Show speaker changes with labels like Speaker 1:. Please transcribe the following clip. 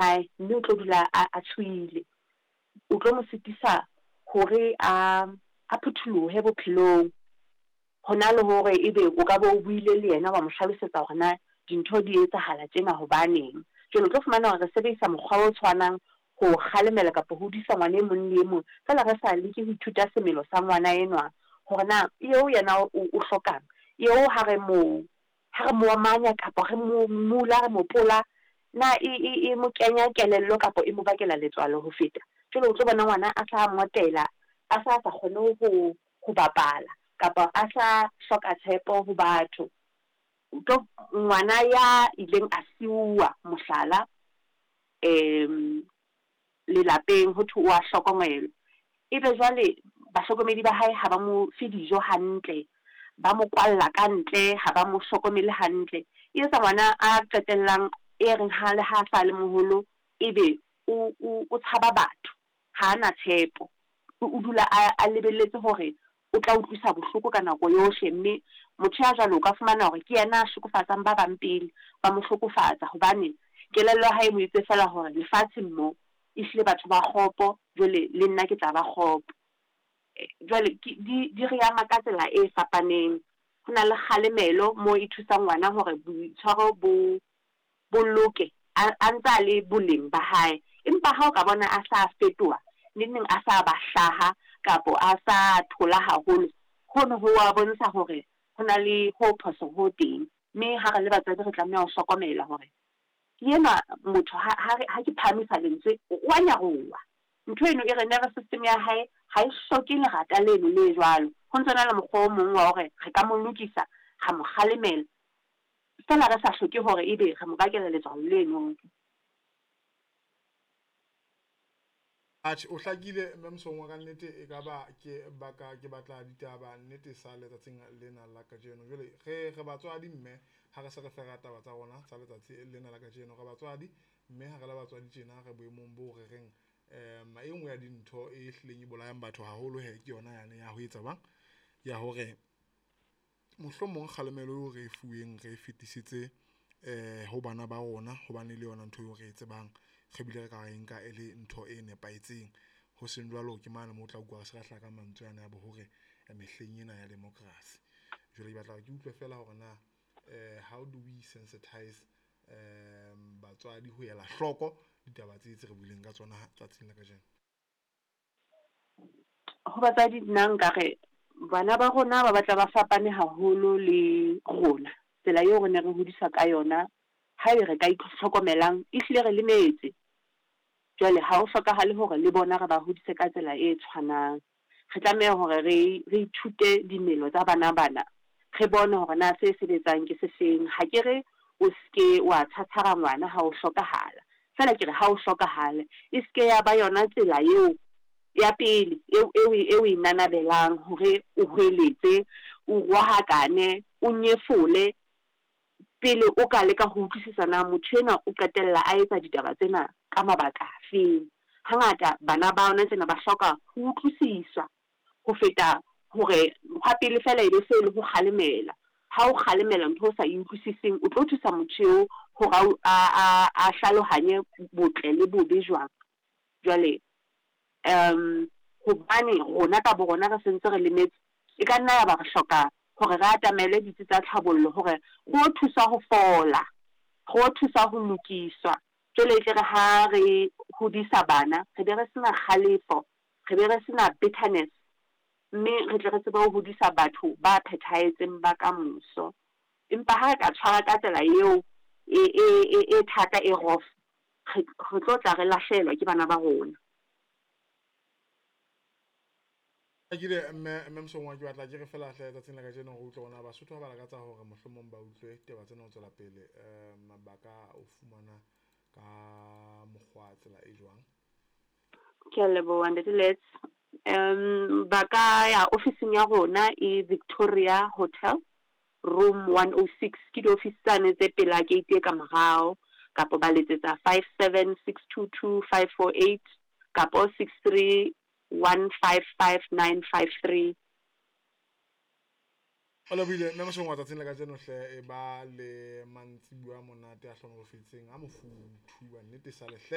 Speaker 1: Hae mme o tlo dula a a tshohile. O tlo mo sitisa hore a a phutholohe bophelong. Hona le hore ebe o ka be o buile le yena wa mo hlalosetsa hore na dintho di etsahala tjena hobaneng. Jwale o tlo fumana hore re sebedisa mokgwa o tshwanang ho kgalemela kapa ho hodisa ngwana e mong le e mong, feela re sa leke ho ithuta semelo sa ngwana enwa hore na eo yena o o hlokang, eo ha re mo ha re mo omanya kapa re mo mula, re mo pola, na e e e mo kenya kelello kapa e mo bakela letswalo ho feta? Jwale o tlo bona ngwana a sa ngotela, a sa sa kgone ho ho bapala kapa a sa hloka tshepo ho batho. O tlo ngwana ya ileng a siuwa mohlala lelapeng ho thwe o a hlokomelwa. Ebe jwale bahlokomedi ba hae ha ba mo fe dijo hantle, ba mo kwalla ka ntle, ha ba mo hlokomele hantle. E etsa ngwana a qetellang e reng ha le ha sa le moholo, ebe o o o tshaba batho, ha a na tshepo. O dula a a lebelletse hore o tla utlwisa bohloko ka nako yohle, mme motho ya jwalo o ka fumana hore ke yena a hlokofatsang ba bang pele ba mo hlokofatsa hobane kelello ya hae e mo itse feela hore lefatsheng mo ehlile batho ba kgopo, jwale le nna ke tla ba kgopo. Jwale ke di di re ama ka tsela e fapaneng. Ho na le kgalemelo moo e thusang ngwana hore boitshwaro bo bo loke a a ntsa le boleng ba hae. Empa ha o ka bona a sa fetoha, neng neng a sa ba hlaha kapo a sa thola haholo, hono ho wa bontsha hore ho na le ho phoso ho teng. Mme ha re le batswadi re tlameha ho hlokomela hore ke enwa motho ha ha re ha ke phahamisa lentswe o wa nyaroha. Ntho eno e re nervous system ya hae ha e hloke lerata leno le jwalo. Ho ntsona le mokgwa o mong wa hore re ka mo lokisa, ra mo kgalemela, feela re sa hloke hore ebe re mo bakela letswalo leno.
Speaker 2: Atjhe, o hlakile mme Mosongwa ka nnete e ka ba ke baka ke batla ditaba nnete sa letsatsing lena la kajeno. Jwale re re batswadi mme ha re se re fera taba tsa rona tsa letsatsi lena la kajeno, re batswadi mme ha re le batswadi tjena re boemong bo re reng e nngwe ya dintho e hlileng e bolayang batho haholo he ke yona yane ya ho etsa jwang, ya hore mohlomong kgalemelo eo re e fuweng re e fetisetse ho bana ba rona hobane le yona ntho eo re e tsebang, re bile re ka e nka e le ntho e nepahetseng. Ho seng jwalo ke mane moo o tla utlwa re se re hlaha ka mantswe ana a bo hore mehleng ena ya democracy. Jwale ke batla hore ke utlwe feela hore na how do we sensitize batswadi ho ela hloko ditaba tse tse re buileng ka tsona tsatsing la kajeno?
Speaker 1: Ho batswadi nna nkare bana ba rona ba batla ba fapane haholo le rona, tsela eo re ne re hodiswa ka yona. Haebe re ka itlhokomelang, ehlile re lemetse. Jwale ha ho hlokahale hore le bona re ba hodise ka tsela e tshwanang. Re tlameha hore re re ithute dimelo tsa bana bana, re bone hore na se sebetsang ke se feng. Ha ke re o ske wa tshwatshwara ngwana ha o hlokahala, feela ke re ha o hlokahale e ske ya ba yona tsela eo ya pele eo eo eo e nanabelang hore o hweletse, o rohakane, o nyefole pele o ka leka ho utlwisisa na motho enwa o qetella a etsa ditaba tsena ka mabaka afeng. Hangata bana ba hona tjena ba hloka ho utlwisiswa ho feta hore mokgwa pele feela e be se le ho kgalemela. Ha o kgalemela ntho o sa e utlwisiseng, o tlo thusa motho eo hore a a a hlalohanye botle le bobe jwang. Jwale hobane rona ka bo rona re sentse re lemetse, e ka nna ya ba re hloka hore re atamele ditsi tsa tlhabollo hore re o thuswa ho fola, re o thuswa ho lokiswa. Jwale e tle re ha re hodisa bana, re be re sena kgalefo, re be re sena bitterness, mme re tle re tsebe ho hodisa batho ba phethahetseng ba kamoso. Empa ha re ka tshwara ka tsela eo e e e e thata e rough, re re tlo tla re lahlehelwa ke bana ba rona.
Speaker 2: Hlakile mme mme Mosongwa, ke batla ke re feela hle tsatsing la kajeno re utlwe hore na Basotho ha ba lakatsa hore mohlomong ba utlwe taba tsena ho tswela pele ba ka o fumana ka mokgwa tsela e jwang?
Speaker 1: Ke a leboha Ntate Lets. Ba ka ya ofising ya rona e Victoria Hotel, room 106, ke diofisi tsane tse pela gate e ka morao, kapa ba letsetsa 57622548 kapo 63155953.
Speaker 2: O lebohile mme Mosongwa tsatsing la kajeno hle, e ba le mantsibuya a monate a hlonolofetseng a mofuthu wa nnete sale hle.